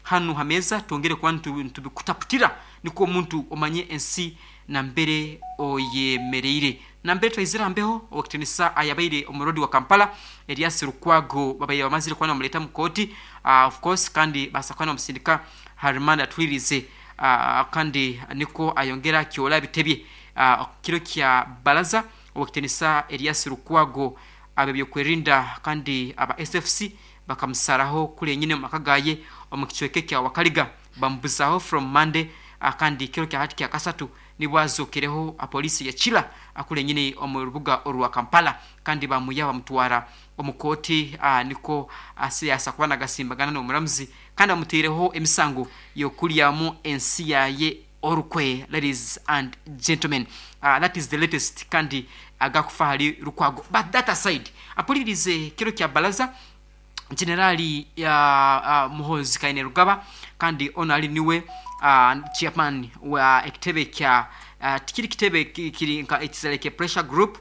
Hanu ha meeza twongere kuba nitubikutaputira nikwo omuntu omanye ensi nambere oyemereire. Nambere twaizire aha mbeho, Owekitinisa ayabaire omuroodi wa Kampala, Erias Lukwago babaire bamazire kuba nibamureeta omu kooti of course kandi baasa kuba nibamusindika aha remand atwirize kandi nikwo ayongere akyole ebitebye. Kiro kya Baraza, Owekitinisa Erias Lukwago ab'ebyokwerinda kandi aba SFC bakamusaraho kuri enyine omu maka gaye omu kicweka ekya Wakaliga bamubuzaho from Monday kandi kiro kya hati kya kasatu nibwo azokereho apolisi ya Kira kuri enyine omu rubuga orwa Kampala kandi bamuya bamutwara omu kooti nikwo yasa kuba nagasimbagana n'omuramuzi kandi bamuteireho emisango y'okuryamu ensi yaye orukwe ladies and gentlemen that is the latest kandi agakufa ahari Lukwago but that aside apuririze kiro kya baraza Generali Muhoozi Kainerugaba kandi onu ari niwe chairman wa ekitebe kya tikiri kitebe kiri nka it's like a pressure group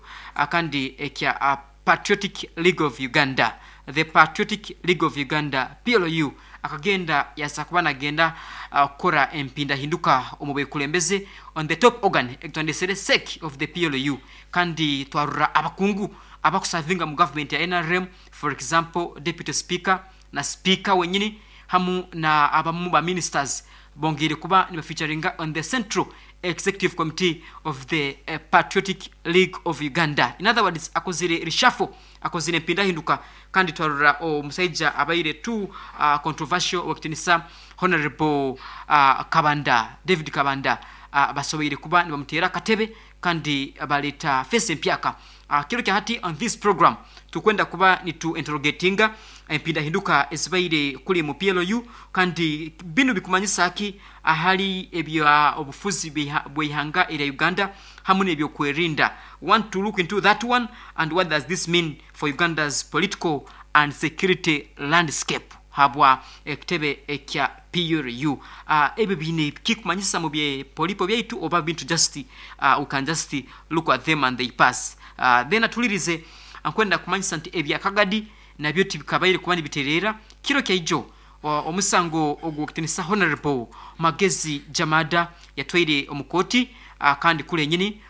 kandi ekya Patriotic League of Uganda the Patriotic League of Uganda PLU akagenda yaza kuba nagenda kukora empindahinduka omu bekulembeze on the top organ ekitwandesere sec of the PLU kandi twarora abakungu abakusavinga mu government ya nrm for example deputy speaker na speaker wenyini hamu na abamu ba ministers bongeire kuba nibafeaturinga on the central executive committee of the Patriotic League of Uganda. In other words, akozire reshuffle, akozire empindahinduka kandi twarora omusaija abaire too controversial owekitinisa Honorable Kabanda, David Kabanda basoboire kuba nibamuteera akatebe kandi baleeta face empyaka. Kiro kya hati on this program tukwenda kuba nitu interrogatinga empindahinduka ezibaire kuri mu PLU kandi binu bikumanyisa ki ahari ebya obufuzi bw'eihanga erya Uganda hamu n'ebyokwerinda. Want to look into that one and what does this mean for Uganda's political and security landscape habwa ekitebe ekya PLU. Ebyo biine kikumanyisa mu bye polipo byaitu oba bintu just we can just look at them and they pass. Then atulirize nkwenda kumanyisa nti ebya Kagadi nabyo tibikabaire kuba nibitereera. Kiro kyaijo omusango ogw'okutinisa Honorable Magezi Jamada yatwaire omu kooti kandi kuri enyini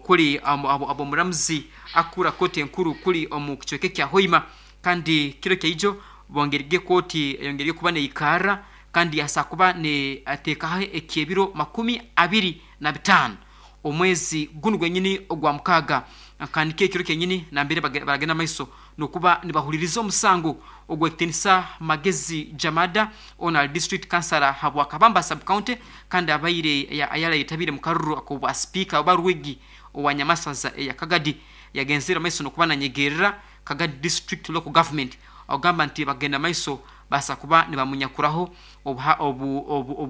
kuri ab'omuramuzi akura kooti enkuru kuri omu kicweka ekya Hoima kandi kiro kyaijo bongerige kooti eyongerige kuba neikara kandi yasa kuba neteekaho eky'ebiro 25 omwezi gunu gwenyini ogwa mukaaga kandi kekiro kenyini nambere baragenda maiso nokuba nibahuliriza omusango ogw'ekitinisa Magezi Jamada ono ali district councillor habwa Kabamba sub county kandi abaire ayarayetabire mu karuru ak'obwa speaker oba Rwigi owa Nyamasaza eya Kagadi yagenzere maiso nokuba nanyegerera Kagadi district local government ogamba nti bagenda maiso basa kuba nibamunyakuraho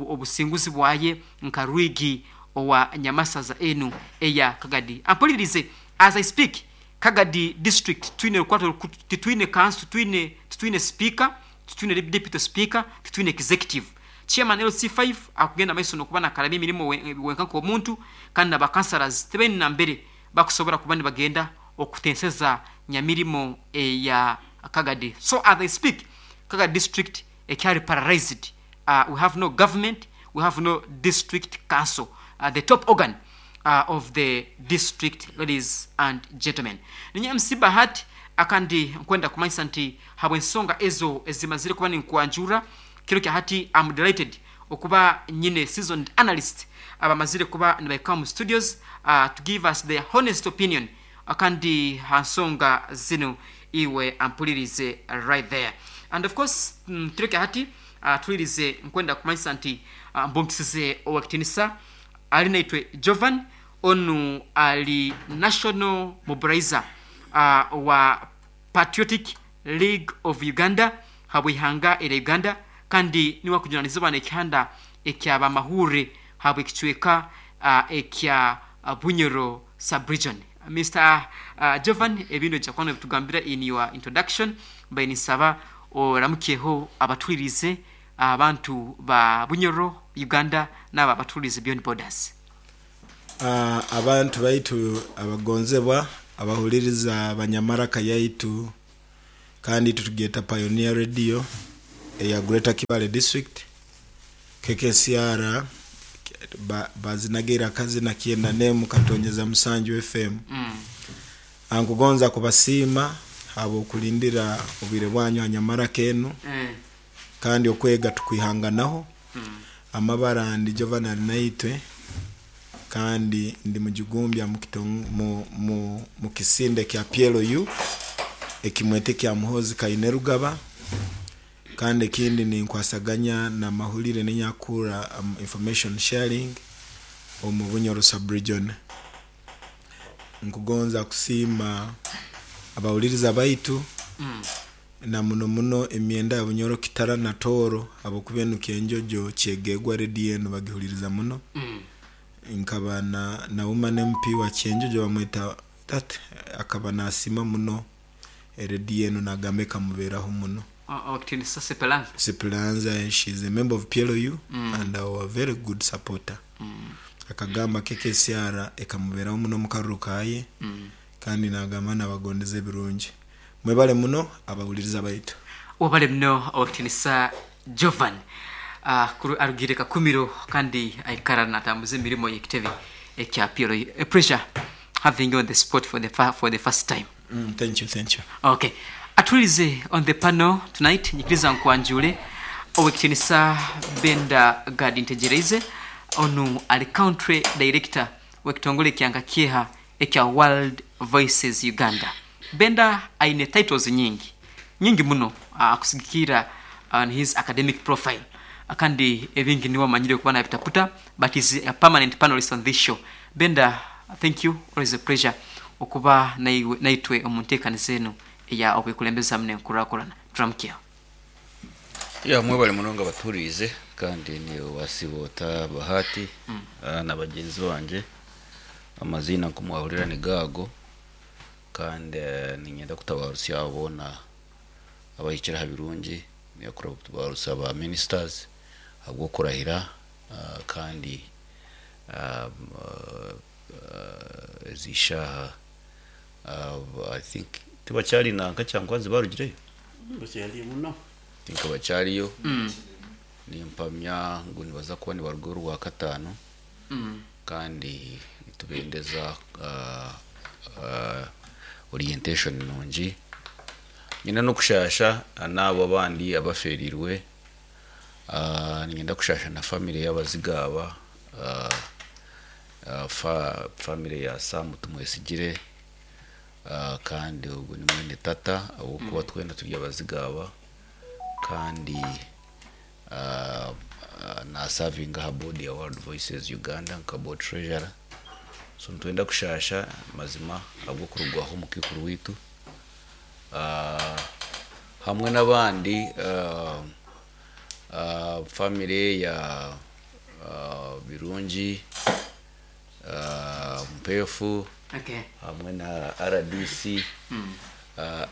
obusinguzi bwaye nka Rwigi owa Nyamasaza enu eya Kagadi. Ampulirize as I speak Kagadi district twine rukwato titwine council twine titwine speaker titwine deputy speaker titwine executive chairman LC5 akugenda maiso nokuba nakaraba emirimo wenka nk'omuntu kandi na councillors tebeni nambere bakusobora kuba nibagenda okutenseza nyamirimo eya Kagadi. So as I speak Kagadi district ekyari paralyzed. We have no government, we have no district council, the top organ of the district, ladies and gentlemen. Ninye MC Bahati akandi nkwenda kumanyisa nti habw'ensonga ezo ezimazire kuba ninkwanjura kiro kya hati I'm delighted okuba nyine seasoned analyst abamazire kuba nibaika mu studios to give us their honest opinion akandi ha nsonga zino iwe ampulirize right there. And of course kiro kya hati tulirize nkwenda kumanyisa nti mbunkisize owekitinisa ali naitwe Jovan onu ali national mobilizer wa Patriotic League of Uganda habw'eihanga erya Uganda kandi niwe akujunanizibwa n'ekihanda ekyabamahure habw'ekicweka ekya Bunyoro sub-region. Mr. Jovan ebintu ojja kuba nobitugambira in your introduction mbaire ninsaba oramukyeho abatulirize abantu ba Bunyoro Uganda n'abo abatulirize beyond borders. Abantu baitu abagonzebwa abahuliriza Banyamaraka yaitu kandi itwe tugyeta Pioneer Radio. eya Greater Kibaale District, KKCR bazinagaire akazina Kyenda Nemu Katonyeza Musanju FM. Nkugonza kubasiima ahabw'okulindira obwire bwanyu aha nyamaraka enu kandi okwega tukwihanganaho. Amabara ndi Jovan Arinaitwe kandi ndi mujigumbya mu kisinde kya PLU ekimweta ekya Muhoozi Kainerugaba kandi ekindi ninkwasaganya na mahurire n'enyakura information sharing omu Bunyoro sub-region. Nkugonza kusiima abahuririza baitu na muno muno emyenda ya Bunyoro Kitara na Tooro ahabw'okuba enu Kyenjojo Kyegegwa rediyo enu bagihuririza muno. Nkaba na na woman MP wa Kyenjojo bamweta that akaba nasiima muno erediyo enu nagamba ekamubeeraho muno. Owakitinisa Sipelanza. Sipelanza she is a member of PLU and our very good supporter. Akagamba KKCR ekamubeeraho muno omu karuru kaaye kandi nagamba nabagondeza ebirungi. Mwebale muno abahuririza baitu. Webale muno Owekitinisa Jovan. Arugire Kakumiro kandi aikara natambuza emirimo y'ekitebe ekya PLU. A pleasure having you on the spot for the, for the first time. Thank you, thank you. Okay. Atulize on the panel tonight, nyikiriza nkwanjule Owekitinisa Benda Gadi Ntegyereize, onu ali country director w'ekitongole kya Kieha ekya World Voices Uganda. Benda aine titles nyingi nyingi muno akusigikira on his academic profile kandi ebingi niwe amanyire kuba nabitaputa, but is a permanent panelist on this show. Benda, thank you, always a pleasure okuba naitwe omu nteekaniza enu eya okwekulembeza muno enkurakurana. Turamukyeho. Ya mwebale munonga baturiize kandi ni Wasiboota Bahati na bagyenzi bangye. Amaziina nku mwahurira ni gaago kandi niinyenda kutabarutsya abo boona abahikire aha birungi, kutabarutsya ba ministers ahabw'okurahira kandi ezi shaaha I think tibakyari nanka Kyankwanzi barugireyo? Bakyariyo muno. I think bakyariyo. Nimpamya ngu nibaza kuba nibaruga orwakataano kandi nitubendeza orientation nungi. Nyine n'okushasha n'abo abandi abaferirwe. Niinyenda kushasha na family y'abaziga aba, family ya Sam Tumwesigire, kandi ogwo ni mwene tata ahabw'okuba twena turi abaziga aba kandi nasavinga aha board ya World Voices Uganda nka board treasurer. So nitwenda kushasha mazima ahabw'okurugwaho omukaikuru waitu hamwe n'abandi family ya Birungi Mpefu hamwe na RDC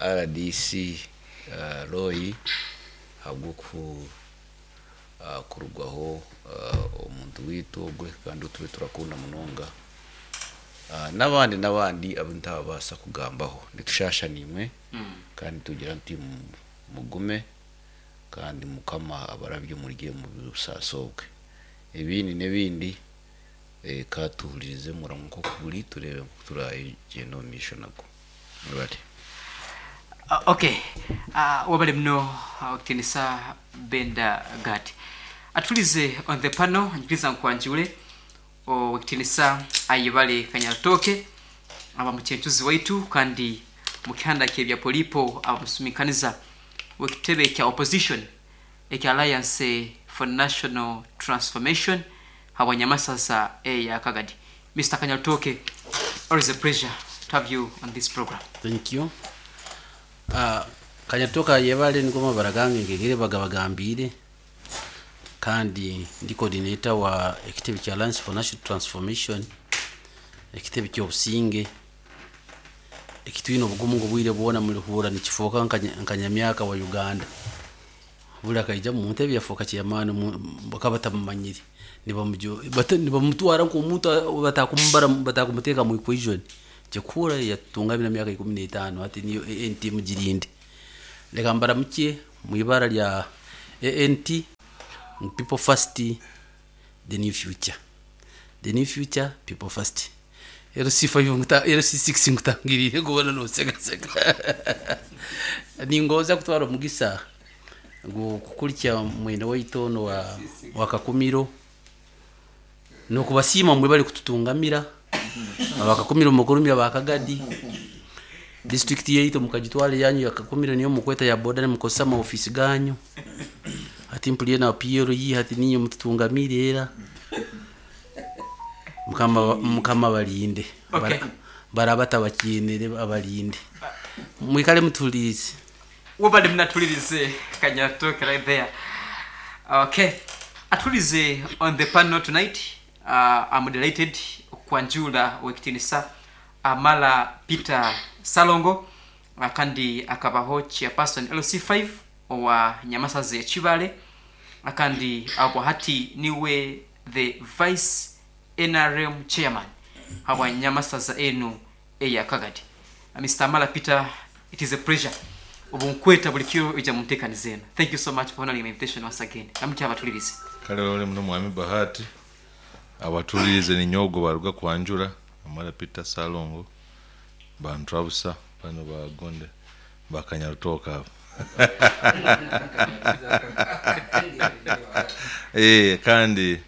RDC Roy ahabw'oku kurugwaho omuntu waitu ogwe kandi tube turakunda munonga n'abandi n'abandi abu ntabaasa kugambaho. Nitushasha naimwe kandi tugira nti mugume kandi Mukama abarabye omuri omu busaasi obwe. Ebindi n'ebindi ka tuhuririze muramwa nk'oku guri tureebe nku turagyenda omu maisho nagwo. Mwebale. Okay, wabale muno Owekitinisa Benda Gadi. Atulize on the panel, nyikiriza nkwanjule Owekitinisa Ayebale Kanyarutooke aba mukyenchuzi waitu kandi mukihanda kyebya polipo aba musuminkaniza wekitebe kya opposition ekya Alliance for National Transformation habwanyamasaza eya Kagadi. Mr. Kanyarutooke, always a pleasure to have you on this program. Thank you. Kanyarutooke Ayebale niko mabara gange ngegere bagabagambire kandi ndi coordinator wa ekitebe kya Alliance for National Transformation, ekitebe ky'obusinge ekitwine obugumu ngu obwire bwona murihurra nikifuuka nka nyamyaka wa Uganda. Buri akaija omu ntebe yafuuka chairman bakaba batamumanyire nibamutwara nk'omuntu batakumubara batakumuteka mu equation. Kyekura yatungamire emyaka 15 hati niyo NT mugirinde. Leka mbaramukye mu ibara lya ANT ngu people first the new future the new future people first LC5 LC6 nkutangiriire kubona nosegasega ningoza kutwara omugisa ngu kukurikya mwene waitu ono wa, wa Kakumiro nokubasiima mwe bari kututungamira abakakumiro mukurumira bakagadi district yaitu mukagitwara yanyu ya Kakumiro niyo mukweta ya boda nimukozesa amaofisi ganyu hati mpuliye na PLE hati ninyo mututungamire era mukama mukama balinde Okay. baraba tabakienere abalinde mwikale mutulize wobale mnatulirize kanyatoke right there. Okay, atulize on the panel tonight. I'm delighted kwanjula wekitinisa Amala Peter Salongo, kandi akabaho chairperson LC5 owa Nyamasazi Chibale, akandi abo hati niwe the vice NRM chairman habwa Nyamasaza enu eya Kagadi. Mr. Amala Peter, it is a pleasure obunkweta buli kiro ija muntekaniza eno. Thank you so much for honoring my invitation once again. Namukya abatulirize. Kale ole muno mwami Bahati abatulirize ninyogo baruga kwanjura Amara Peter Salongo bantu abusa bano bagonde bakanyarutoka abo. Kandi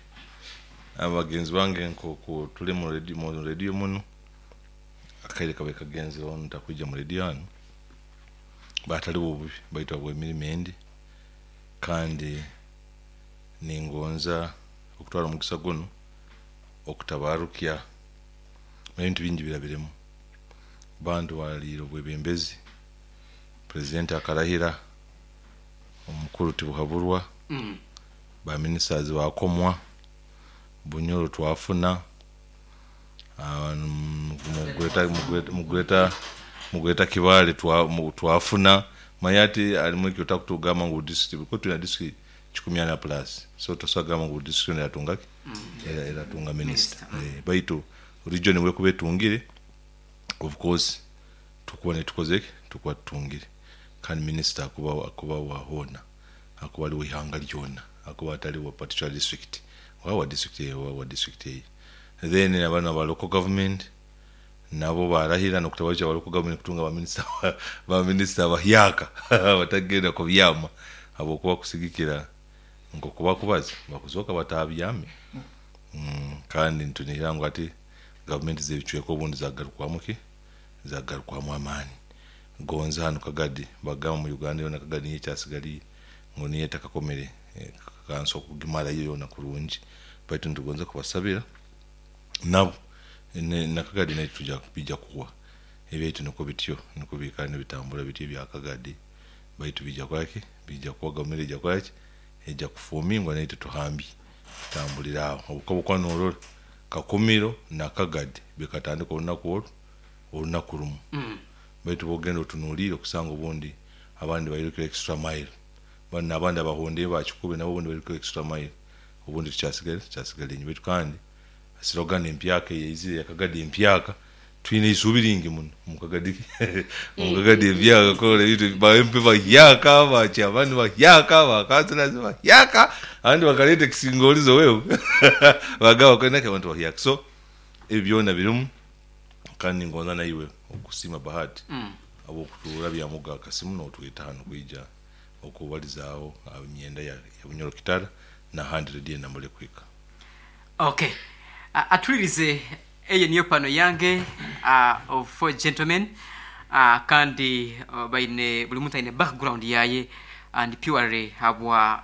abagenzi bange nkoku tuli mu radio mu radio muno akaire kabe kagenzi ono ntakwija mu radio hano batali bubi baitwa bw'emirimo endi kandi ningonza okutwara omugisa guno okutabarukya ebintu bingi birabiremu bantu baliire obwebembezi president akarahira omukuru tibuhaburwa baministers bakomwa Bunyoro twafuna mugweta Kibale twafuna mayati alimu ekyo takutugamba ngu district kuko tulina district 14 plus so tosagamba ngu district yatungaki eratunga minister. Baitu region wekuba etungire of course tukuba netukozeki tukuba tutungire kandi minister akuba wahona akuba ali wihanga lyona akuba atali wa particular district wa district wa district eyi. Then abana ba local government nabo barahira nokutabaja ba local government kutunga ba minister bahyaka batagenda ku byama abokuba kusigikira ngo kuba kubaza bakuzoka batabyame. Kandi ntunira ngo ati government zebicweko obundi zagarukwamu ki zagarukwamu amaani gonza hano Kagadi bagamba mu Uganda yona Kagadi niyo kyasigaliye ngo niyo etakakomere kanso kugimara yo yona kurungi baitu ntugonza kubasabira nabo na Kagadi nayo tuja bijja kuwa ebyaitu niko bityo niko bikana bitambula bityo bya Kagadi baitu bijja kwaki bijja kuwa gavumenti ejja kwaki ejja kufumingwa nayo tuhambi tutambulira aho obukobo kwa norora Kakumiro na Kagadi bikatandika olunaku olwo olunaku lumu. Baitu bogenda otunuulire okusanga obundi abandi bairukira extra mile bano abandi abahonde bakikube nabo obundi bairukira extra mile obundi tukyasigala enyuma. Baitu kandi slogan empyaka eyeizire ya Kagadi empyaka twine isubi ringi muno mukagadi mukagadi empyaka kola ebintu ba MP bahyaka bakyabandi bahyaka bakanselazi bahyaka abandi bakaleta ekisingolizo wewe bagaba kwenake abantu bahyaka so ebyo byona birimu kandi ngonza naiwe okusima Bahati abokutuura byamuga akasimu n'otweta hano kwija okubalizaawo emyenda ya Bunyoro Kitara na handi radio namule kwika. Okay, atulirize eyo niyo pano yange of four gentlemen, kandi baine buli muntu aine background yaye and purely habwa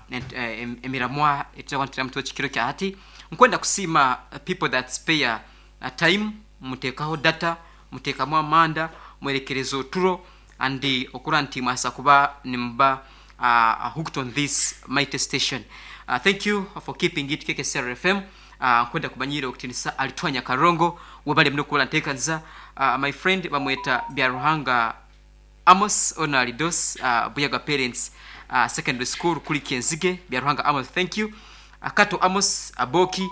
emiramwa etirakwantira mutwe kikiro kya hati nkwenda kusima people that spare time mutekaho data mutekamu amanda mwerekereza oturo and okura nti mwasa kuba nimba hooked on this mighty station. Thank you for keeping it KKCR FM. Nkwenda kumanyira okutinisa alitwanya karongo webale muno kubola nteekaniza. My friend bamweta Byaruhanga Amos Onalidos, Buyaga Parents Secondary School kuli Kenzige. Byaruhanga Amos, thank you. Kato Amos Aboki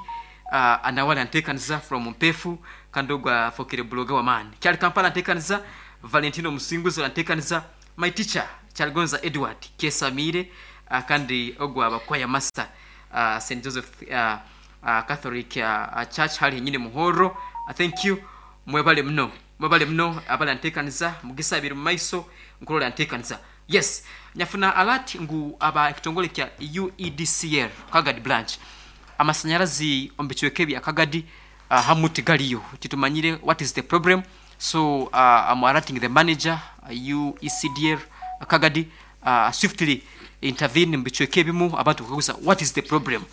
anawala nteekaniza from Mpefu kandogwa fokere buloga wa man Kyali Kampala nteekaniza. Valentino Musinguzi nteekaniza. My teacher Kyaligonza Edward Kesamire Kandi ogwo aba choir master St Joseph Catholic Church hali henyini Muhorro. Thank you. Mwebale muno. Mwebale muno abali antekaniza mugisa abiri mu maiso nkurora antekaniza. Yes, nyafuna alert ngu aba ekitongole kya UEDCL Kagadi branch amasanyarazi omu bicweka ebya Kagadi hamu tigariyo, titumanyire what is the problem, so am alerting the manager UECDL Kagadi swiftly intervene omu bicweka ebimu abantu bakaguza what is the problem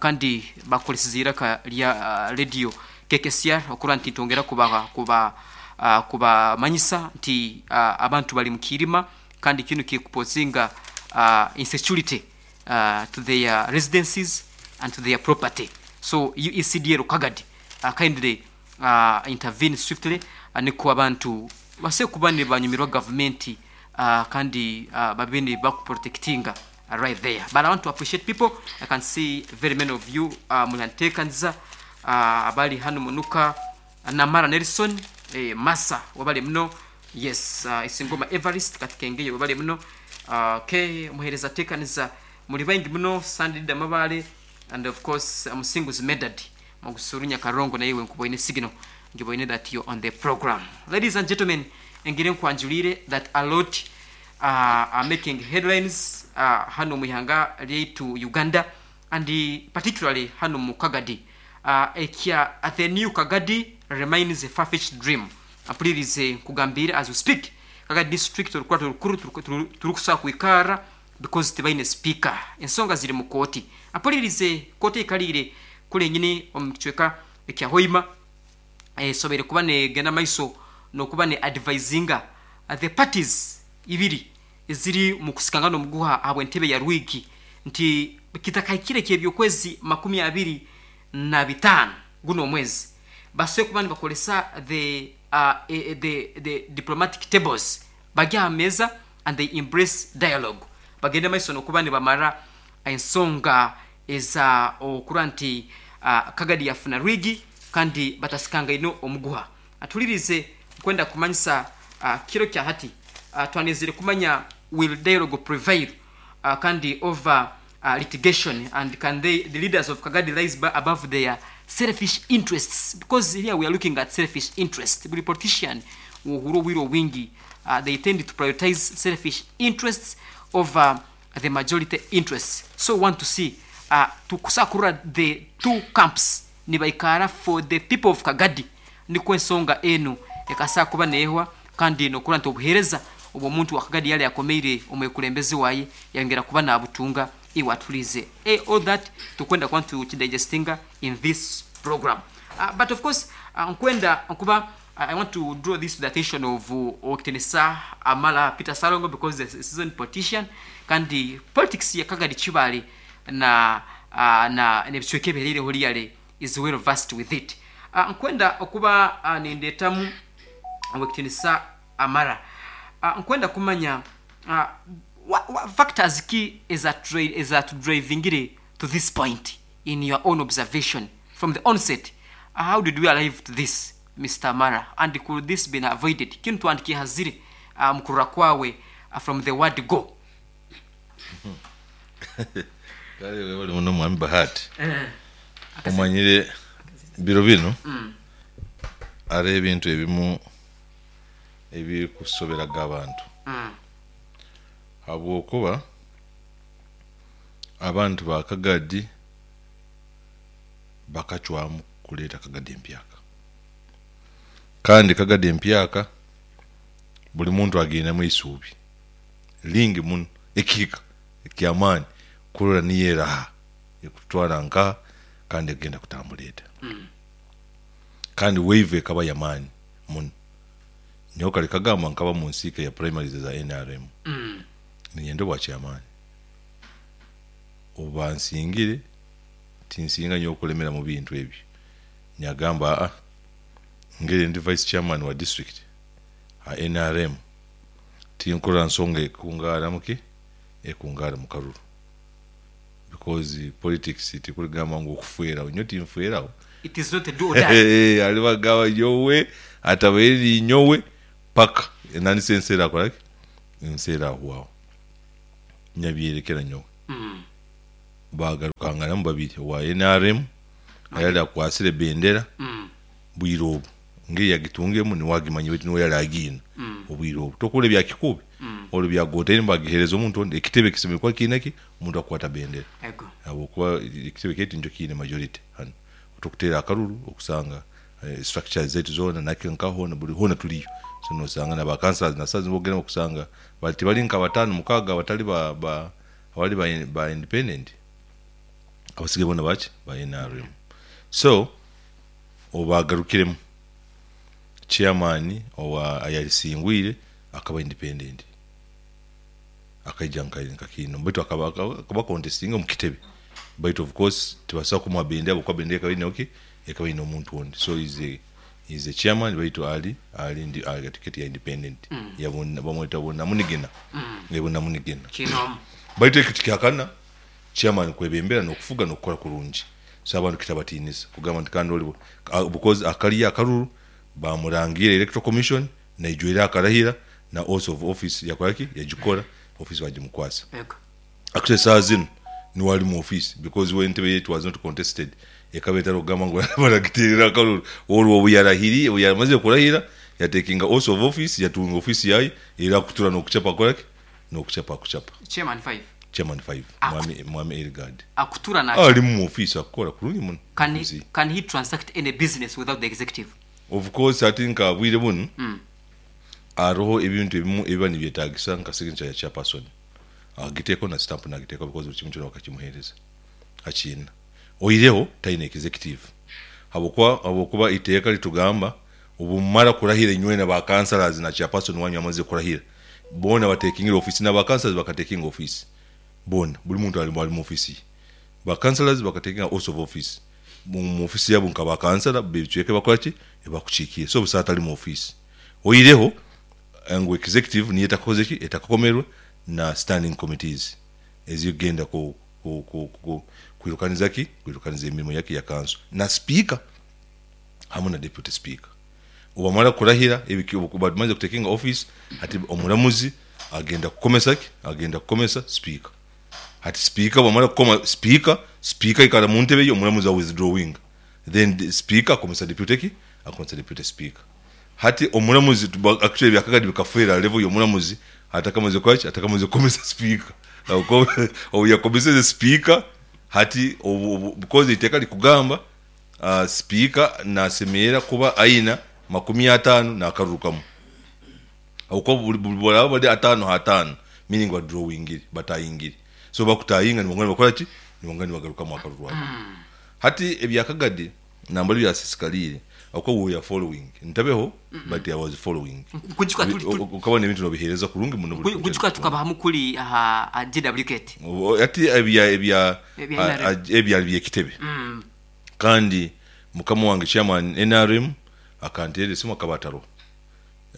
kandi bakoresize eiraka rya radio KKCR okurora nti nitwongera kuba kuba kubamanyisa nti abantu bari mukiirima kandi kinu kikupozinga insecurity to their residences and to their property. So UECDL Kagadi kindly intervene swiftly nikwo abantu basobole kuba nibanyumirwa gavumenti kandi babe nibakuprotectinga right there. But I want to appreciate people. I can see very many of you muranteekaniza abali hanu munuka Namara Nelson Masa wabale muno. Yes, Isingoma Everest Katikengeye wabale muno. Okay, muhereza tekaniza muri baingi muno Sandida Mabale and of course Musinguzi Medad Mugusurunya Karongo na iwe nkuboine signal ngiboine that you're on the program. Ladies and gentlemen, engire nkwanjulire that a lot are making headlines hano muihanga lyaitu Uganda and particularly hano mu Kagadi. Ekya the new Kagadi remains a far-fetched dream. Apulirize nkugambire as we speak Kagadi district orukurato rukuru turukusobola kwikara because tibaine speaker. Ensonga ziri mu kooti. Apulirize kooti eikaliire kuri enyini omu kicweka ekya Hoima esoboire kuba negenda maiso nokuba ne advisinga the parties ibiri eziri mu kusikangana omuguha ahabw'entebe ya Rwigi nti kitakahikire ky'ebyokwezi 25 guno omwezi basoboire kuba nibakoresa the diplomatic tables bari aha meeza and they embrace dialogue bagende maiso nokuba nibamara ensonga eza okurora nti Kagadi yafuna Rwigi kandi batasikangaine omuguha. Atulirize nkwenda kumanyisa kiro kya hati twanezire kumanya will dialogue prevail kandi over litigation and can they the leaders of Kagadi rise above their selfish interests, because here we are looking at selfish interest. Buri politician wohura obwire obwingi they tend to prioritize selfish interests over the majority interests. So we want to see tukusobola kurora the two camps nibaikara for the people of Kagadi nikwo ensonga enu ekasobola kuba neehwa kandi nokurora nti obuheereza obw'omuntu wa Kagadi yali akomeire omwekulembeze waye yayongera kuba nabutunga iwe atulize. All that tukwenda kuba tukidigestinga in this program. But of course nkwenda nkuba I want to draw this to the attention of Okitinisa Amala Peter Salongo because he's a seasoned politician kandi politics ya Kagadi Kibale na na nebicweka ebihereireho riyale is well versed with it. Nkwenda okuba nindetamu Okitinisa Amara. Nkwenda kumanya what factors ki ezatudrivingire to this point in your own observation from the onset. How did we arrive to this, Mr. Amara, and could this been avoided? Kinu twandikihazire mukurura kwawe from the word go. Kale webale muno mwami Bahati. Omanyire biro bino hariho ebintu ebimu ebirikusoberaga abantu. Habwokuba abantu ba Kagadi bakacwamu kuleeta Kagadi empyaka. Kandi Kagadi empyaka buli muntu agiinemu eisuubi lingi muno ekihika eky'amaani kurora niyo eraha ekutwara nkaha kandi egenda kutambura eta. Kandi wave ekaba y'amaani muno. Nyowe kare kagamba nkaba mu nsiika ya primaries eza NRM. Niinyenda obwa chairman. Obu bansingire tinsinga nyowe kulemera mu bintu ebyo. Nyagamba aa ngeri ndi vice chairman wa district ha NRM tinkurora nsonga ekungaara muki ekungaara mu karuru because politics tikurigamba ngu okufweraho nyowe tinfweraho. It is not a do or die. Aribagamba nyowe atabaire ninyowe paka nandisa ensi erakoraki ensi erahwaho. Nyabyerekera nyowe. Baagarukanganamu babiri, owa nrm ayali akwatsire ebendera bwire obu ngeri yagitungiremu niwe agimanya beitu niwe yali agiine obwire obu. Tokuhurira ebya Kikuubi olwo byagotaine bagihereza omuntu ondi, ekitebe kisemeriire kuba kiine ki? Omuntu akukwata bendera ahabw'okuba ekitebe kyaitu nikyo kiine majority hanu. Tokuteera akaruru okusanga structures zaitu zoona naki nka hoona buri hoona turiyo so nosanga na ba councillors na saaha zinu bwokugenda okusanga bari tibari nka bataano mukaaga abatari ba ba abari ba ba independent abasigaire boona baki ba nrm so obagarukiremu chairman owa ayarisingwire akaba independent akaija nka nka kiino baitu akaba akaba contestinga omu kitebe baitu of course tibasobola kumuha bendera ahabw'okuba bendera ekaba eine ki ekaba eine omuntu ondi so is a is a chairman baitu ali ali ndi ali tiketi ya independent ya bamweta Bunamunigina eh Bunamunigina Kinomu. baitu ekyo tikihakana chairman kwebembera n'okufuga n'okukora kurungi so abantu kitabatiinisa kugamba nti kandi oli because akariyo akaruru bamurangiire electoral commission naijwire akarahira na oath of office yakora ki yagikora office bagimukwasa. Ego. Actually esaaha zinu niwe ari mu office because we entebe ye it was not contested ekaba etari kugamba ngu baragiteerera akaruru orwo obu yarahiriire obu yamazire kurahira yatekinga oath of office yatunga office yaye era akutura nokuchapa akora ki nokuchapa akuchapa. Chairman 5. Chairman 5 mwami mwami Elgard Akutura na ari mu office akukora kurungi muno Can office he, ye. can he transact any business without the executive? Of course hati nka bwire bunu hariho ebintu ebimwe ebiba nibyetagisa nka signature ya chairperson agiteekaho na stamp nagiteekaho because buri kimwe kyona bakakimuheereza akiina. Oihireho taine executive habwokuba habwokuba eiteeka ritugamba obu mumara kurahira inywena ba councillors na chairperson wanyu amazire kurahira boona batekingire office na ba councillors bakatekinga office boona buri muntu ari mu office ye. Ba councillors bakatekinga oath of office mu office yabo nka ba councillor b'ebicweka ebi bakukoraki ebi bakukiikiire so busa atari mu office. Oihireho ngu executive niyo etakakozire ki etakakomerwe na standing committees ezikugenda ku ku ku ku kwirukaniza ki kwirukaniza emirimo yaki ya kanso na sipiika hamwe na deputy speaker. Obu bamara kurahira ebiki obu bamazire kutekinga office hati omuramuzi agenda kukomesa ki agenda kukomesa sipiika. Hati sipiika bwamara kukoma sipiika, sipiika aikara mu ntebe ye omuramuzi a withdrawinga then sipiika akomesa deputy ki akomesa deputy sipiika. Hati omuramuzi actually ebya Kagadi bikafeera level y'omuramuzi atakamazire kukora ki atakamazire kukomesa sipiika. Obu yakomeseze sipiika hati obu obu because eiteeka rikugamba sipiika nasemerera kuba aina makumi ataano n'akaruru kamwe. Ahabw'okuba buri buri baraba bari ataano ha ataano meaning badrowingire batayingire. So obu bakutayinga nibongera nibakora ki nibongera nibagarukamu akaruru ako. Hati ebya Kagadi nambwenu byasisikariire ahabw'okuba we were following ntabeho but I was following. Nkujuka turi turi Okabona ebintu nobiheereza kurungi muno buri nkujuka tukaba hamu kuri aha aha JWKT. Hati ebya ebya Ebya NRM. ebyari by'ekitebe kandi mukama wange chairman nrm akanteerera esimu akaba ataroho.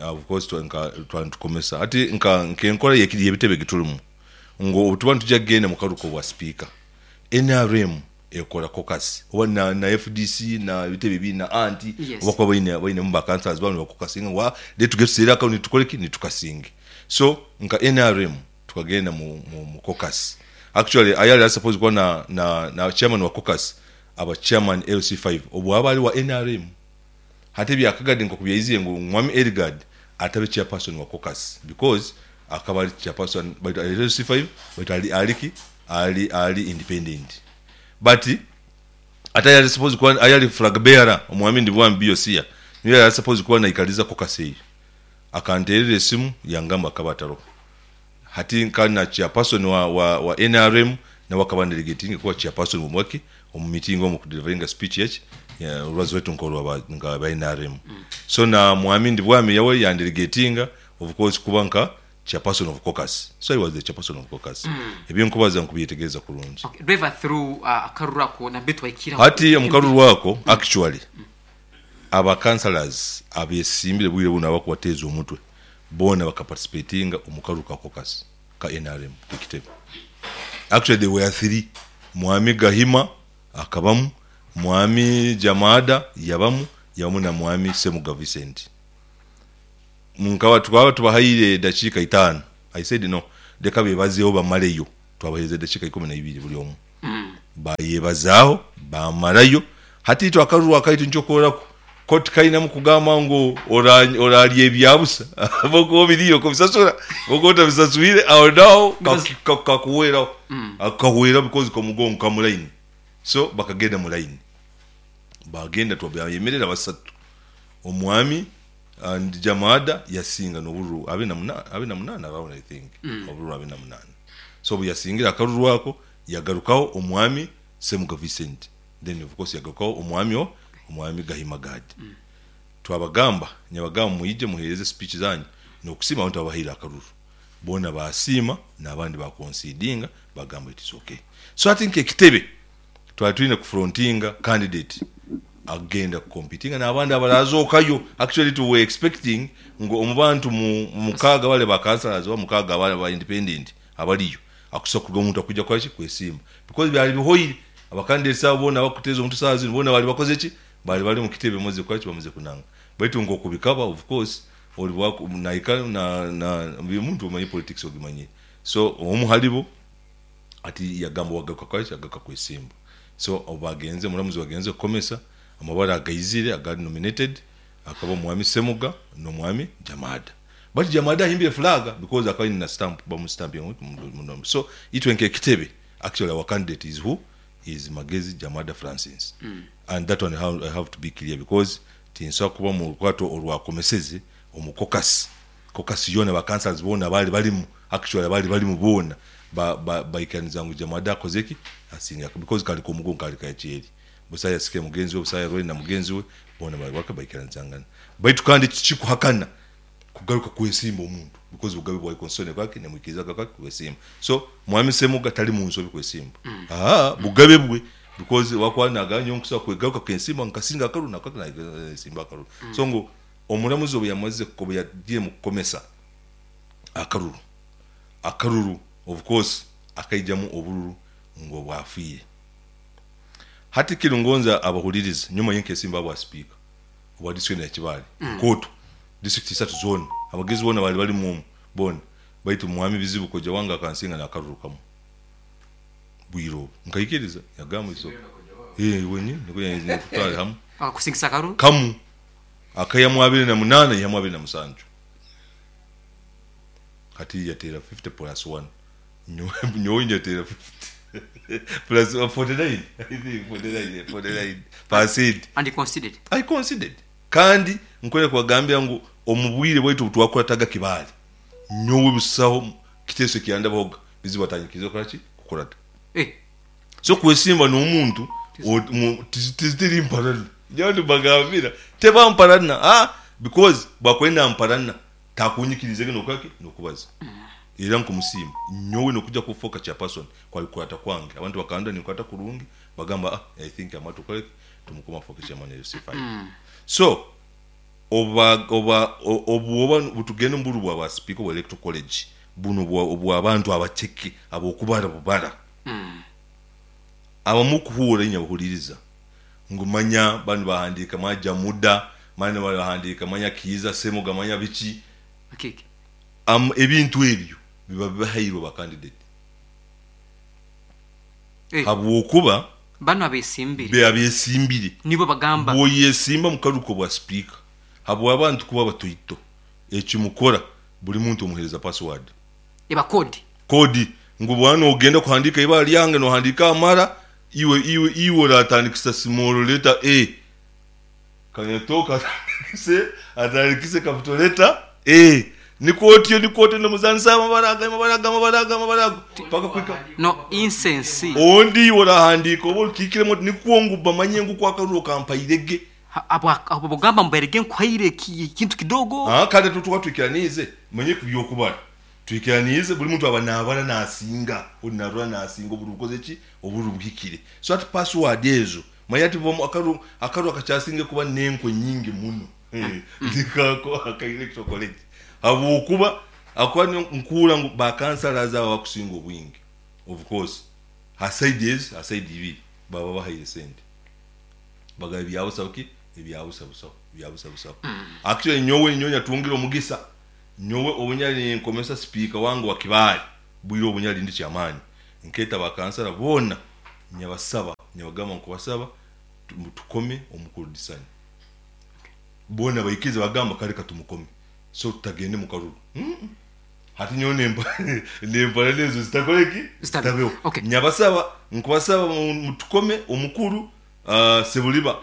Of course nka twaba nitukomesa hati nka nk'enkora y'ebitebe egi turimu ngu obu tuba nitwija kugenda omu karuru k'obwa sipiika nrm ekora caucus oba na na fdc na ebitebe ebindi na anti Yes. obu bakuba baine bainemu ba councillors baabo nibakokasinga ngu reka tugende tuteere akaruru nitukore ki nitukasinge. So nka nrm tukagenda mu mu mu caucus actually ayari ari supposed kuba na na na chairman wa caucus aba chairman LC5 obu aba ari wa nrm. Hati ebya Kagadi nkoku byaizire ngu Mwami Elgard atabe chairperson wa caucus because akaba ari chairperson baitu ari LC5 baitu ari ari ki ari ari independent but ate ayari supposed kuba ayari flag bearer Omwami Ndibwami Biosia niwe yari supposed kuba naikariza caucus eyo akanterera esimu yangamba akaba ataroho hati nka na chairperson wa wa wa nrm nawe akaba andelegatinge kuba chairperson omu waki omu meeting omu kudeliveringa speech yaki orubaazo rwaitu nkorwa nka ba nrm so na mwami Ndibwami yawe yandelegatinga of course kuba nka chairperson of caucus so I was the chairperson of caucus ebinkubaza nkubyetegereza kurungi. Okay, driver through akaruru ako nambere twahikiraho. Hati omu karuru ako actually aba councillors abesimbire bwire bunu abakubateeza omutwe boona bakaparticipatinga omu karuru ka caucus ka nrm k'ekitebe. Actually they were three, Mwami Gahima akabamu, Mwami Jamada yabamu, yabamu na Mwami Ssemuga Vincent. Nkaba tukaba tubahaire edakiika itaano, I said no, leka bebazeeho bamaleyo. Twabaheereza edakiika 12 buri omwe. Baayebazaaho, baamarayo. Hati itwe akaruru akaitu nikyo kooraku ko tikainamu kugamba ngu oraarya ebya busa ahabw'okuba obiriire okabisasura, kwonka otabisaswire aho naaho kakuhweraho. Kakahweraho because omugongo ka mu layini. So bakagenda mu layini. Baagenda twabemerera basatu. Omwami and Jamada yasinga n'obururu 28 around I think, obururu 28. So obu yasingire akaruru ako, yagarukaho omwami Semuga Vincent, then of course yagarukaho omwami o omwami Gahima Gad. Twabagamba, nyabagamba mwije muhereze speech zanyu n'okusiima abantu ababahaire akaruru. Boona baasiima n'abandi ba concedinga bagamba it is okay. So hati nk'ekitebe twali twine ku frontinga candidate agenda ku competinga n'abandi abarazookayo. Actually we were expecting ngu omu bantu mukaaga bare ba councillors oba mukaaga aba independent abariyo, akusobola kurugamu omuntu akwija kukora ki? Kwesimba. Because byari bihoire, aba candidates abo boona abakuteeza omutwe saaha zinu boona bari bakoze ki? Bari bari omu kitebe bamaze kukora ki? Bamaze kunanga. Baitu nk'oku bikaba of course ori nahika na na buri muntu omanyire politics ogimanyire. So omu haribo hati yagamba wagaruka kukora ki? Yagaruka kwesimba. So obu bagenze omuramuzi wagenze kukomesa amabara agaizire agari nominated akaba omwami Semuga n'omwami Jamada. But Jamada ahimbire flag because akaba aine na stamp bamu stampinga so itwe nk'ekitebe actually our candidate is who? Is Magezi Jamada Francis and that one I have to be clear because tinsobola kuba mu rukwato orwakomeseze omu caucus. Caucus yoona ba councillors boona abaali barimu actually abaali barimu boona baikiraniza ngu Jamada akoze ki? Asingire because kari k'omugongo kari kakyeri. Busaho yasikire mugenzi we, busaho yarwaine na mugenzi we, boona bari baka baikiranizangana. Baitu kandi tikikuhakana kugaruka kwesimba omuntu because bugabe bwawe constitution nekola ki? Nemwikiriza kugaruka kwesimba. So Mwami Semuga tari mu nsobi kwesimba. Ahaa bugabe bwe because wakuba nagamba nyowe nkusobola kwegaruka kensimba nkasinga akaruru nakola ki? Nayesimba akaruru. So ngu omuramuzi obu yamazire obu yagiire mu kukomesa akaruru, akaruru of course akaijamu obururu ngu obwafiire. Hati kinu ngonza abahuririze, nyowe manye nkesimba ahabwa sipiika owa district enu ya Kibaale, Nkoto, district isatu zoona, abagezi boona baali barimu omu boona, baitu Mwami Bizibu koja wange akansinga n'akaruru kamwe bwire obu. Nkaikiriza, yagamba it's okay. Eh, wenyini nikwo yaizire tutware hamu. Akakusingisa akaruru? Kamu, akaihamu 28 yaihamu 27. Hati yateera 50 plus one. Nyowe nyateera 50 plus 49, I think 49, 49 percent. And you conceded? I conceded. Kandi nkwenda kubagambira ngu omu bwire bwaitu obu twakurataga Kibaale, nyowe busaho kiteeso ekyandabahoga bizibu atanyikirize kukora ki? Kukurata. Eh. So kwesimba n'omuntu tizitiri mparana. Nyowe nimbagambira teba mparana ah, because bwakuba namparana takunyikiriizege n'okukora ki? N'okubaza. Era nkumusiima. Nyowe n'okuja kufoka chairperson kwali kukurata kwange. Abantu bakandora ninkurata kurungi bagamba ah I think Amatu okore ki? Tumukome afoke chairman LC5. So oba oba obu oba tugenda omu buru bwa ba sipiika obwa electoral college bunu obw'abantu abaceke ab'okubara bubara. Abamu kuhuura inya bahuririza ngu manya banu bahandiika manya Jamuda, manya bahandiika manya Kiiza Semuga manya biki. Ebintu ebyo biba bibahairwe ba candidate habwokuba Banu abesimbire. Abesimbire. Nibo bagamba. Bwoyesimba mu karuru k'obwa sipiika habw'abantu kuba batoito ekimukora buri muntu omuhereza password. Eba kodi. Kodi ngu bwaba nogenda kuhandiika eibara ryange nohandiika amara iwe iwe iwe oratandikisa small letter A Kanyatoka atandikise atandikise capital letter A nikwo otyo nikwo otyo nomuzanisa amabara ago amabara ago amabara ago amabara ago paka kuhika No incense. Ondi iwe orahandiika oba okiikiremu oti nikwo ngu bamanye ngu ku akaruru okampaire ge. Abo bogamba mbu erige nkuhaire ekintu kidogo. Haa kare tuba twikiraniize manye kubyokubara twikiraniize buri muntu aba nabara nasinga ori narora nasinga oburi bukoze ki oburi buhikire so hati password ezo manya hati akaruru akaruru akakyasinga kuba nenkwe nyingi muno nikako aka electoral college habwokuba akuba nkuhurra ngu ba councillors abo abakusinga obwingi of course ha side ezi ha side ibiri baba bahaire sente. Bagaba ebya busa ki? Ebya busa busaho, ebya busa busaho. Actually nyowe nyowe nyatungire omugisa, nyowe obu nyali ninkomesa sipiika wange wa Kibaale, bwire obu nyali ndi kyamaani. Nkeeta bakansara boona nyabasaba, nyabagamba nkubasaba tukome omukuru Disani. Boona baikiriza bagamba kare katumukome so tutagende mu karuru. Hati nyowe nempara nezo zitakora ki? Zitabeho. Zitabeho. Okay. Nyabasaba nkubasaba mutukome omukuru Sebuliba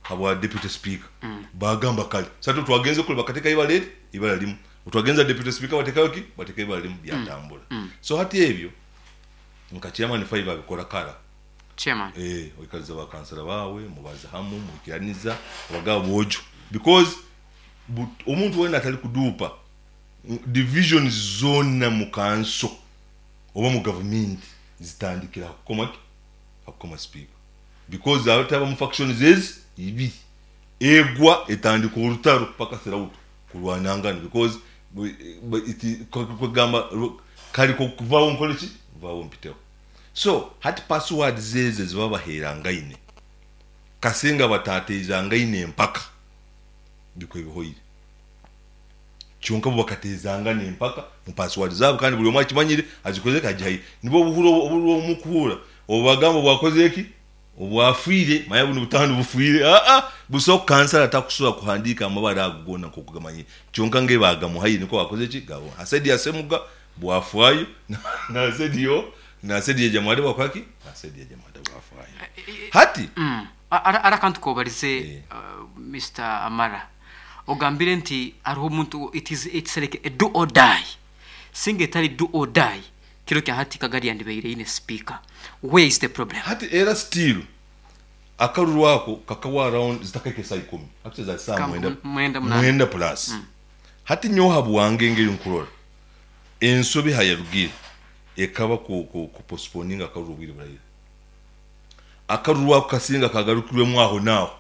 habwa deputy speaker. Bagamba kare. So hati twagenze kure bakatekayo ibara eri ibara limu. Twagenza deputy speaker batekayo ki? Batekayo ibara limu byatambura. So hati ebyo nka chairman 5 abikora kara. Chairman. Oikaliza bakansara bawe mubaza hamu mwikiraniza abagabo bojo because omuntu wena atali kudupa divisions zona mu kanso oba mu government zitandikira kukoma ki? Hakukoma speaker because abataba mu factions ezi ibiri egwa etandika orutaro paka throughout kurwanangana because kugamba kali kuvawo nkole ki vawo mpiteho. So hati password zeze ziba baherangaine kasinga batatezangaine empaka bikwe bihoire kyonka bo bakatezangana empaka mu password zabo kandi buli omwe akimanyire azikoze kajayi nibo obuhuro obuhuro omukuhura obubagambo bwakoze eki obwafiire maya buno butano bufiire buso kansala takusura kuhandika amabara ago gona nkokugamanye kyonka nge bagamuhaye niko bakoze ki gabo asedi asemuga bwafwayo na asedi yo na asedi ya jamade bwakwaki asedi ya jamade bwafwayo hati Ara kantu kobarize Mr. Amara ogambire nti ariho omuntu it's like a do or die singa etari do or die kiro kya hati kagari yandibeire ine speaker. Where is the problem? Hati era still akaruru ako kakawa around zitakake saa 10 actually za saa mwenda mwenda plus. Hati nyoha bwange ngeri nkurora ensobi hayarugire ekaba ku postponing akaruru bwire burayira akaruru ako kasinga kagarukirwemo aho naho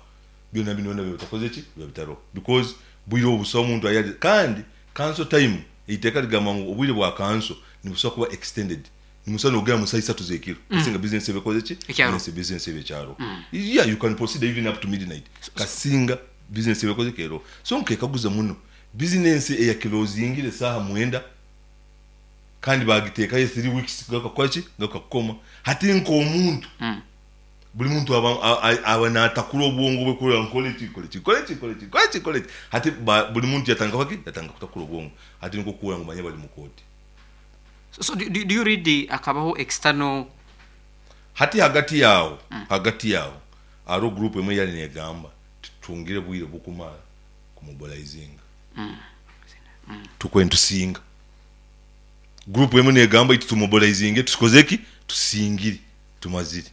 byona binona bitakoze ki bitaro because bwire obusa omuntu ayali kandi council time iteka ligamba ngo obwire bwa council nibusa kuba extended nimusa nogera musa isatu zekiro kasinga business ebekoze ki business ebekyaro. Yeah, you can proceed even up to midnight kasinga business ebekoze kero. So nkekaguza muno business eya closing saha mwenda kandi bagitekayo 3 weeks gakakwachi gakakoma hati nko omuntu buli muntu aba natakula obwongo bwe kurora nkole ki hati buli muntu yatanga kwaki yatanga kutakula obwongo hati niko kuura ngumanye bali mu koti. So do you read the akabaho external hati hagati yao aro group emwe yali negamba tutungire bwire bukumara kumobilizinga tukwentusinga group emwe negamba itumobilizinge tusikozeki tusingire tumazire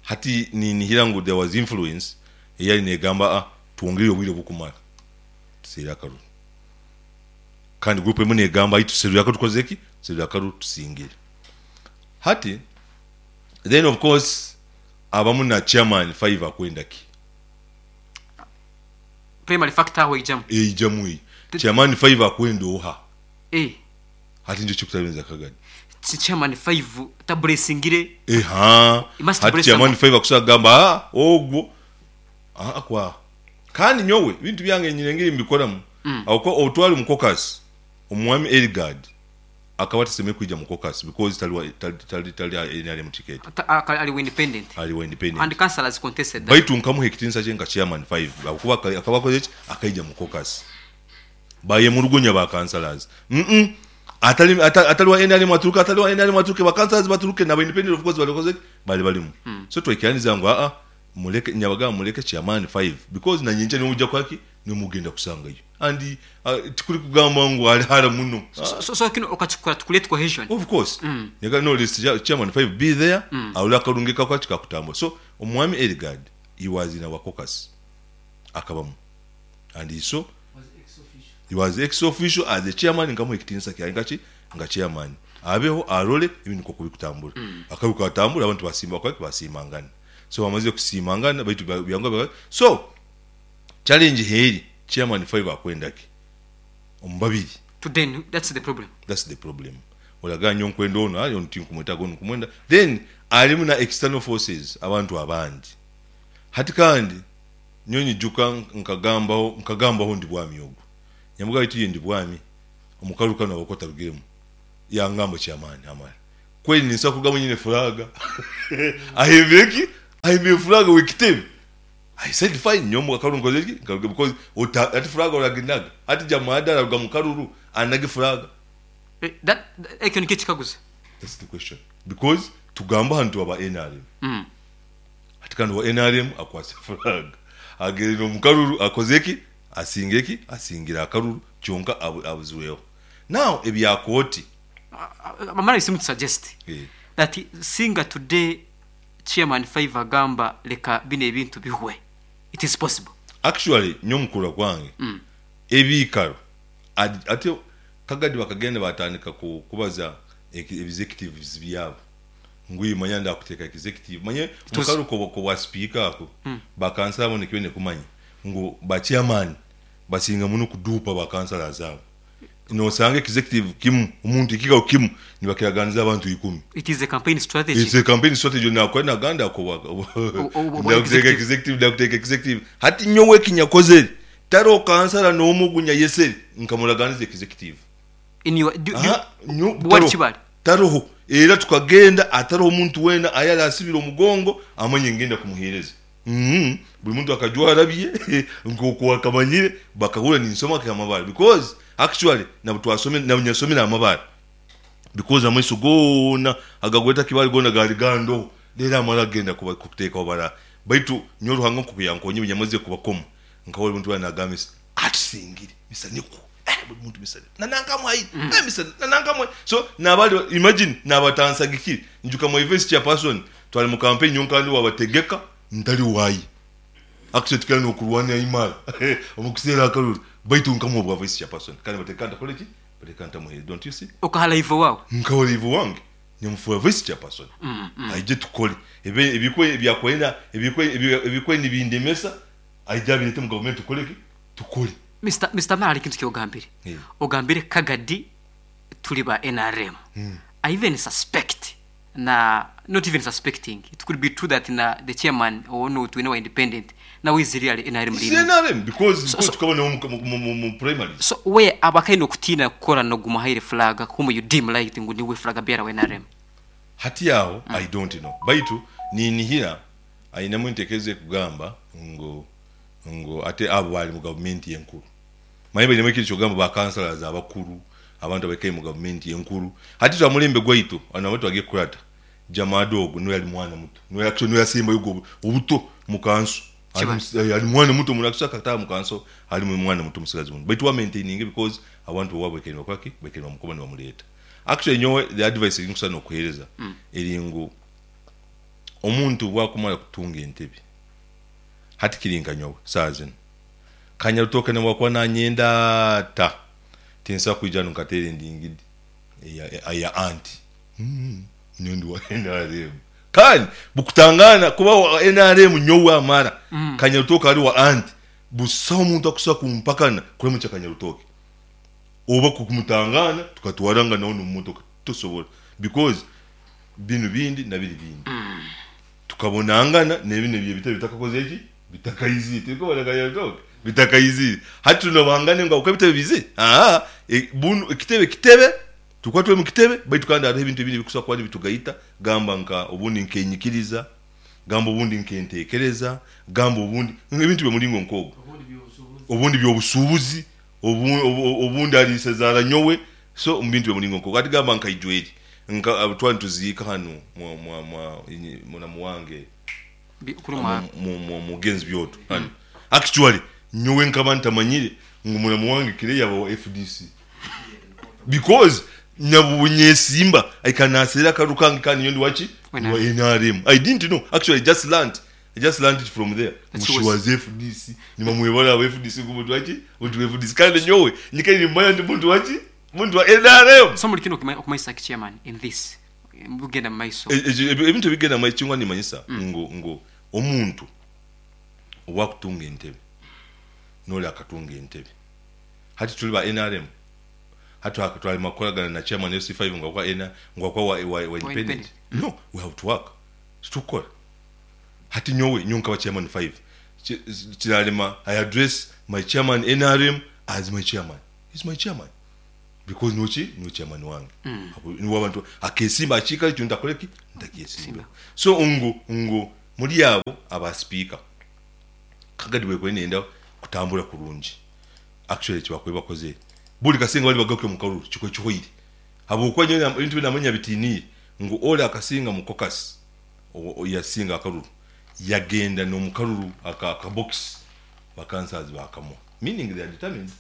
hati ni hirango there was influence eyali negamba tuongere obwire bukumara tusira karu kandi group emwe negamba ituserura tukozeki serura karu tusingire hati then of course abamu na chairman 5 akwenda ki primary factor ho ijamu ijamu chairman 5 akwenda oha hati nje chikutabenza kagadi chairman 5 tablessingire hati chairman 5 akusagamba ogwo akwa kandi nyowe bintu byange nyirengere mbikoramu awuko otwali mu caucus omwami Elgard akaba taseme kuija mu caucus because tali NRM ticket ali independent and councillors contested baitu nkamuhe kitinsa kye nka chairman 5 akuba akabakoze akaija mu caucus baye murugonya ba councillors atali wa NRM aturuka atali wa NRM aturuke ba councillors baturuke na independent of course balikoze bali balimu. So twekiraniza ngo muleke nyabaga muleke chairman 5 because na nyinje n'ujja kwaki nimugenda kusangayo and tikuri kugamba ngo ali hara muno. So kino okachukura tukulete cohesion of course. Nyaga no list chairman 5 be there awula kalungika kwaki kakutambwa. So omwami Elgard he was in our caucus akabamu and he so he was ex official as a chairman ngamu ekitinsa kya ngachi nga chairman abeho arole ibintu ko kubikutambura akabuka atambura abantu basimba kwaki basimangana. So bamaze kusimangana baitu byangwa. So challenge heri chairman 5 akwenda ki ombabiri to then that's the problem. That's the problem. Olaganyo nkwenda ono ali onti nkumweta gono kumwenda then alimu na external forces abantu abandi hati kandi nyonyi juka nkagambaho ndi bwami ogwo nyamuga itu ndi bwami omukaruka no bakota rugiremu yangamba chairman amara Kweli ninsobola kurugamu nyine furaga. Ahimbire ki? Ahimbire furaga w'ekitebe. I said fine, nyowe omu karuru nkoze ki? Nkaruga because ota hati furaga oraginaga. Hati Jamada araruga mu karuru anage furaga. Eh, that, ekyo nikyo ekikaguzo. That's the question. Because tugamba hanu tuba ba NRM. Hati kandi owa NRM akwase furaga. Agenda omu karuru akoze ki? Asinga eki? Asingire akaruru kyonka abuzirweho. Now ebya kooti. Amara I seem to suggest that singa today chairman Five agamba leka bino ebintu bihwe, it is possible. Actually nyowe omu kurora kwange ebiikaro ati Kagadi bakagenda batandika kubaza executives byabo ngu iwe manya ndakuteeka executive manya omu karuru k'obwa sipiika ako ba kansala boona eki baine kumanya ngu ba chairman basinga muno kuduupa ba councillors abo. Nosanga executive kimu, omuntu ekikaro kimu nibakiraganiza abantu ikumi. It is a campaign strategy. It's a campaign strategy nakora naganda ako ndakuteeka executive ndakuteeka executive. Hati nyowe ekinyakozere tariho kansala n'omwe ogu nyayesere nkamuraganiza executive. In your, do, do, Aha, nyo, wali tariho, kibale? tariho. Era tukagenda atariho omuntu weena ayari asibire omugongo amanye ngenda kumuheereza. Buri muntu akajwara bye nk'oku akamanyire bakahurra ninsoma nka Amabare because actually nabutwasomire nabunyasomire Amabare because amaiso goona agagweta Kibale goona gaali gandoho reero amara kugenda kuba kuteekaho bara baitu nyowe Ruhanga nk'oku yankonyire nyamazire kubakoma nkahurra buri muntu weena naagamba Mr atusingire Mr nikwo eh buri muntu Mr na nanka amuhaire eh Mr na nanka amuhaire so naabari imagine naabatansagikire nyijuka my vice chairperson Twari mu campaign nyowe nkaba ndi wabategeka ntari waye. Actually tukaba nokurwanira imara omu kuseera akaruru baitu nkamuha obwa vice chairperson kandi bateeka ntakore ki? Bateeka ntamuheire don't you see? Okaha live owaawe? Nkaha live owange nyamufuura vice chairperson aije tukore ebi ebikwe ebyakwenda ebikwe ebikwe nibindemesa aije abireete omu gavumenti tukore ki? Tukore. Mister Mister Mara hariho ekintu eki ogambire. Ogambire Kagadi turi ba nrm. I even suspect na not even suspecting it could be true that na the chairman onu twine wa independent nawe is really nrm Is leaning. NRM because So, because so, tukaba nawe mu, mu, mu, mu primaries. so we abakaine okutiina kukora noguma haire flag whom you deem like ngu niwe flag bearer wa nrm. Hati aho I don't know baitu ninihira ainemu entekereza ekugamba ngu ngu ate abo bari mu gavumenti enkuru. Manya bainemu ekintu kyokugamba ba councillors abakuru, abantu abaikaire mu gavumenti enkuru. Hati itwe aha mulembe gwaitu, hanu ahu twagiire kukurata, Jamada ogu niwe yari mwana muto, niwe actually niwe yasembayo ogu obuto mu kanso. Kibale. Ari mwana muto muno, actually akataaha mu kanso ari mwana muto musigazi muno. Baitu we amaintaininge because abantu b'owaabo baikaire nibakora ki? Baikaire nibamukoba nibamureeta. Actually nyowe the advice ei nkusobola n'okuheereza eri ngu omuntu obu akumara kutunga entebe, hati kiri nka nyowe saaha zinu, Kanyarutooke n'obu akuba naanyenda ata, tinsobola kwija hanu nkateera endingidi eya anti. Nyowe ndi wa nrm. Kandi bukutangaana kuba wa nrm nyowe amara, Kanyarutooke ari wa anti, busaho muntu akusobola kumpakana kuramukya Kanyarutooke oba kumutangaana tukatwarangana hoona omu motoka. Tosobola because binu bindi na biri bindi. Tukabonangana n'ebindi ebitebe bitakakozire ki? Bitakaizire. Turi kubona Bitakaizire. Hati tunabangane ngu ahabw'okuba ebitebe biizire? Aa, bunu ekitebe kitebe, turikuba turi omu kitebe baitu kandi hariho ebintu ebindi ebirikusobola kuba nibitugaita, gamba nka obundi nk'enyikiriza, gamba obundi nk'enteekereza, gamba obundi ebintu by'omuringo nk'ogwo. Obundi by'obusuubuzi, obundi ari isezaara nyowe, so omu bintu by'omuringo nk'ogwo. Hati gamba nka Ijweri, nka twaba nituziika hanu muramu wange, Mugenzi Byoto hanu. Actually nyowe nkaba ntamanyire ngu muramu wange Clay yaba wa FDC because nyabunyesiimba aikara naseera akaruru kange kandi nyowe ndi waki? Ndi wa NRM. I didn't know actually I just learnt I just learnt it from there ngu she was FDC nibamwebara aba FDC ngu muntu waki? Muntu wa FDC kandi nyowe nyikaire nimmanya ndi muntu waki? Muntu wa NRM. So muri kinu okumanyisa ki chairman in this Ebirikugenda mu maiso. Ebintu ebirikugenda mu maiso ekinkuba nimanyisa ngu omuntu obu akutunga entebe n'ori akatunga entebe. Hati turi ba nrm, hati twarema kukoragana na chairman LC5 ngu ahabw'okuba ngu ahabw'okuba wa independent. No, we have to work. Titurikukora. Hati nyowe, nyowe nkaba chairman five, kirarema I address my chairman nrm as my chairman. He's my chairman. Because niwe ki? Niwe chairman wange. Niwe abantu akesimba aha kiikaro ekyo ntakore ki? Ntakyesimbeho. So ngu ngu muri abo aba sipiika, Kagadi bwekubaire neyenda kutambura kurungi, actually ekibakubaire bakozire, buri kasinga bari bagaruke omu karuru kikubaire kihweire. Habwokuba nyowe ebintu ebi namanya bitiniire ngu ori akasinga mu caucus, yasinga akaruru, yagenda n'omu karuru aka akabokisi ba councillors bakamuha meaning they are determined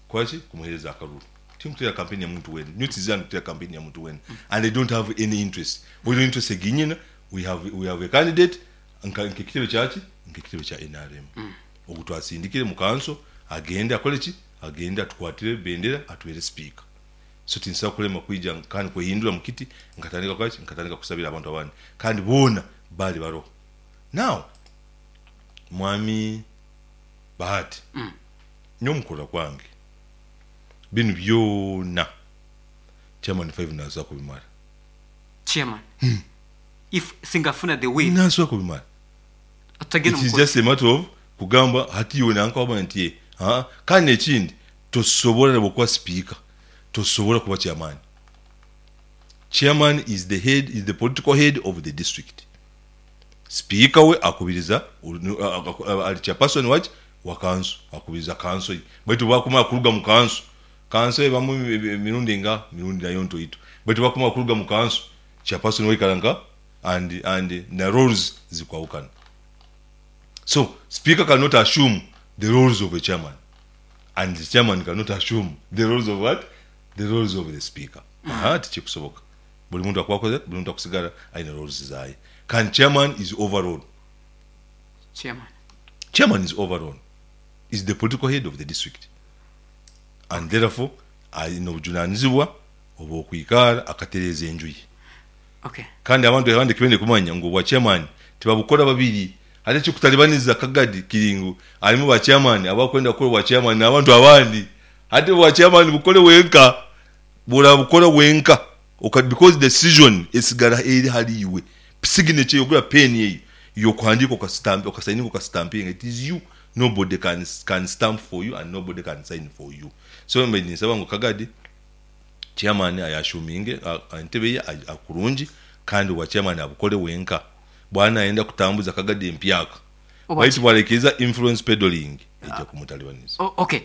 kukora ki? Kumuhereza akaruru. Tinkuteera campaign ya muntu weena, nyowe tizira ndikuteera campaign ya muntu weena and I don't have any interest. Bwine interest egi nyine, we have we have a candidate nka nk'ekitebe kya ki? Nk'ekitebe kya nrm ogu twasindikire mu kanso agende akore ki? Agende atukwatire bendera atubeere sipiika. So tinsobola kulema kwija kandi kwehindura mu kiti nkatandika kukora ki? Nkatandika kusabira abantu abandi kandi boona baali baroho. Now Mwami Bahati, nyowe omu kurora kwange binu byona Chairman Five nasobola kubimara. Chairman, if singa afuna the will. Nasobola kubimara. Otagenda It is omu just a matter of kugamba hati iwe nanka wamanya nti eh, haa. Kandi nekindi tosobola nobwokuba sipiika tosobola kuba chairman. Chairman is the head, is the political head of the district. Sipiika we akubiriza ari chairperson waki? Wa kanso, akubiriza kanso ye. Baitu bwakumara kuruga mu kanso, kanso ebamu emirundi engaha? Emirundi nayo ntoito. Baitu bwakumara kuruga mu kanso, chairperson we aikara nka and and na roles zikwahukana. So sipiika cannot assume the roles of a chairman and the chairman cannot assume the roles of what? The roles of the speaker. Ahaa tikikusoboka. Buri muntu akuba akozire, buri muntu akusigara aine roles zaaye. Kandi chairman is overall. Chairman. Chairman is overall. Is the political head of the district. And therefore aine obujunanizibwa obw'okwikaara akatereeza enju ye. Okay. Kandi abantu abandi eki baine kumanya ngu obwa chairman tibabukora babiri. Hati ekirikutaribaniza Kagadi kiri ngu harimu ba chairman abakwenda kukora obwa chairman n'abantu abandi. Hati obwa chairman bukore wenka. Bw'orabukora wenka oka because decision esigara eri hari iwe. Signature yogura pen eyo y'okuhandiika okasitamp okasayininga okasitampinga it is you nobody can can stamp for you and nobody can sign for you. So mbaire ninsaba ngu Kagadi chairman ayashuminge entebe ye kurungi kandi obwa chairman abukore wenka. Bwaba nayenda kutambuza Kagadi empyaka baitu bwaraikiriza influence peddling eija kumutalibaniza. Ok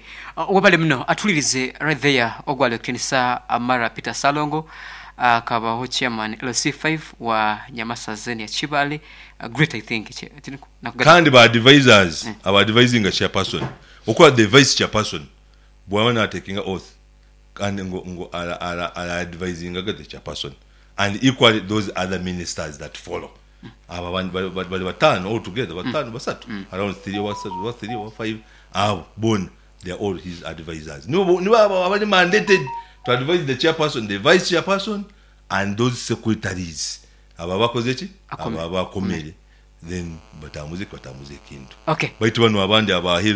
webale muno atulirize right there ogwali okutinisa Amara Peter Ssalongo akabaho chairman LC5 wa Nyamasaza eno ya Kibaale great I think Kandi ba advisors aba advisinga chairperson okura the vice chairperson bwaba natekinga oath kandi ngu ngu ara ara ara advisingaga the chairperson and equally those other ministers that follow abo abandi bari bari bari batano all together batano basatu around three oba basatu oba three oba five abo bona they are all his advisors nibo nibo abo abari mandated to advise the chairperson the vice chairperson and those secretaries abo abakoze ki abo Akomere. abakomere then batambuze ki batambuze ekintu Okay. baitu banu abandi abaheru.